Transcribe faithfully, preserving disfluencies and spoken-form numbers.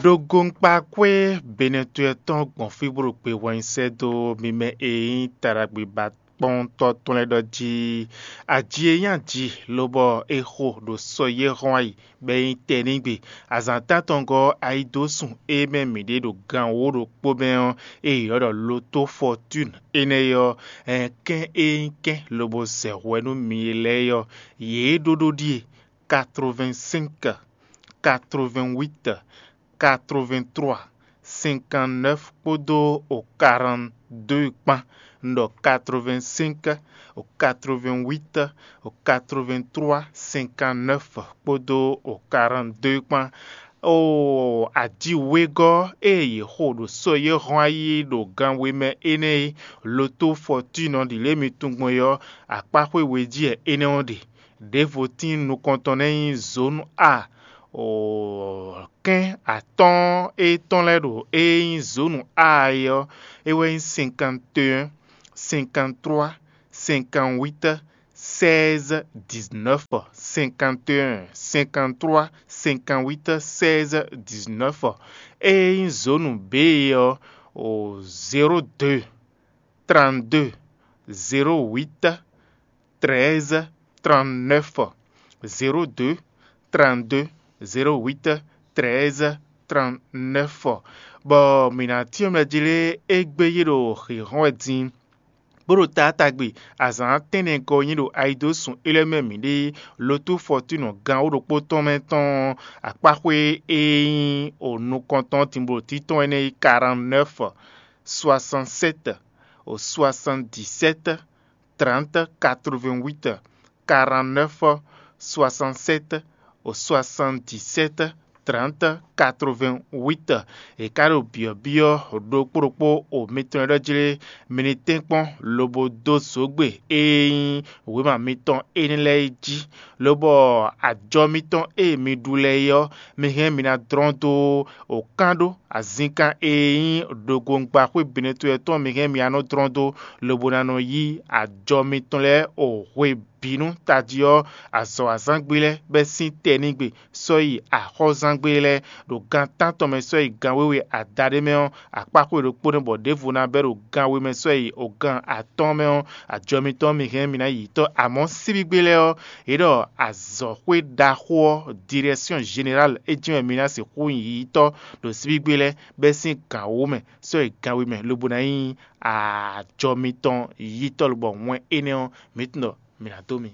Ɖo gonkpakwé Benɛtɔ́ tɔn gbɔn fí bó ɖo gbe hwɛnyi sɛ́ dó mi mɛ e nyí taɖagbe ba kpɔ́ntɔ́ tɔn lɛ́ɛ ɖɔ jí: aji e nyí aji, lobɔ è xo ɖo sɔ yɛ́ hɔn ayi, bɔ é nyí tɛnígbe. Azǎn tántɔngɔ́ ayidósun e mɛ mǐ ɖe ɖo gan wǒ ɖokpó mɛ ɔ́, e è ylɔ́ ɖɔ Loto Fɔtúnu énɛ́ é ɔ́, kɛ́n e nyí kɛ́n lobo zɛ hwɛ nú mi lɛ́ɛ é ɔ́, yě ɖó ɖó ɖíe: quatre-vingt-cinq, quatre-vingt-huit, quatre-vingt-trois, cinquante-neuf kpódó o quarante-deux kpán. Un ɖɔ quatre-vingt-cinq, o quatre-vingt-huit, o quatre-vingt-trois, cinquante-neuf kpódó o quarante-deux kpán. O aji wegɔ́ e yě xo ɖo sɔ yɛ́ hɔn ayi ɖo gan we mɛ énɛ́ é, Loto Fɔtúnu ɖi lě mi tunwun gbɔn é ɔ́, akpáxwé we jí wɛ énɛ́ ɔ́ ɖe. Ɖěvo tín nukɔntɔn nɛ́ nyí zǒnu A. Kɛ́n atɔ́ɔ́n e tɔn lɛ́ɛ ɖo e nyí zǒnu A é ɔ́, é wɛ nyí cinquante et un, cinquante-trois, cinquante-huit, seize, dix-neuf, cinquante et un, cinquante-trois, cinquante-huit, seize, dix-neuf. E nyí zǒnu B é ɔ́, o zéro deux, trente-deux, zéro huit, treize, trente-neuf, zéro deux, trente-deux, zéro huit, treize, trente-neuf. Bɔ mǐ ná cyɔ́n mɛ jí lé égbé yí ɖo xǐxɔ́n wɛ din, bó ɖo taátagbe azǎn tɛ́nnɛ gɔ́ nyí ɖo ayidósun élɔ́ mɛ mǐ ɖe Lotu Fɔtúnu gan wǒ ɖokpó tɔn mɛ tɔn akpáxwé e nyí o nukɔntɔn tinblo títɔn énɛ́ yi quarante-neuf, soixante-sept, o soixante-dix-sept, trente, quatre-vingt-huit, quarante-neuf, soixante-sept, o soixante-dix-sept, trente, quatre-vingt-huit. È ka ɖo byɔ̌byɔ́ ɖokpó ɖokpó o mitɔn e ɖɔ jlé mi ní tɛ́nkpɔ́n lobo dó zǒgbe e nyí wěma mitɔn énɛ́ lɛ́ɛ é jí, lobɔ ajɔ mitɔn e mi ɖu lɛ́ɛ é ɔ́, mi hɛn mi ná dlɔ́n dó o kán ɖó azinkan e nyí ɖogbongba xwé binetɔ́ tɔn mi hɛn mi ná nɔ dlɔ́n dó, lobo ná nɔ yí ajɔ mitɔn lɛ́ɛ o hwe bǐ nú tají ɔ́, azɔ̌wazán gbe lɛ́ɛ bɛ́ sín tɛnígbe sɔ́ yi axɔ́zán gbe lɛ́ɛ. Ɖo gan tántɔn mɛ sɔ́ yi gan wéwe adaɖé mɛ ɔ́, akpáxwé ɖokpó nɛ́ bɔ ɖěvo ná bɛ́ ɖo gan we mɛ sɔ́ yi o gan atɔ́ɔ́n mɛ ɔ́, ajɔ mitɔn mi hɛn mi ná yi tɔ́. Amɔ̌ síbígbe lɛ́ɛ ɔ́, yě ɖɔ azɔ̌xwé ɖaxó ɔ́, Direction Générale, é jɛ́n wɛ mi ná sixú yi tɔ́ ɖo síbígbe lɛ́ɛ bɛ́ sín gan wǒ mɛ sɔ́ yi gan we mɛ, lobo ná nyí ajɔ mitɔn yítɔ́ lobɔ wɛn énɛ́ ɔ́, mǐ tunwun ɖɔ mǐ ná dó mi.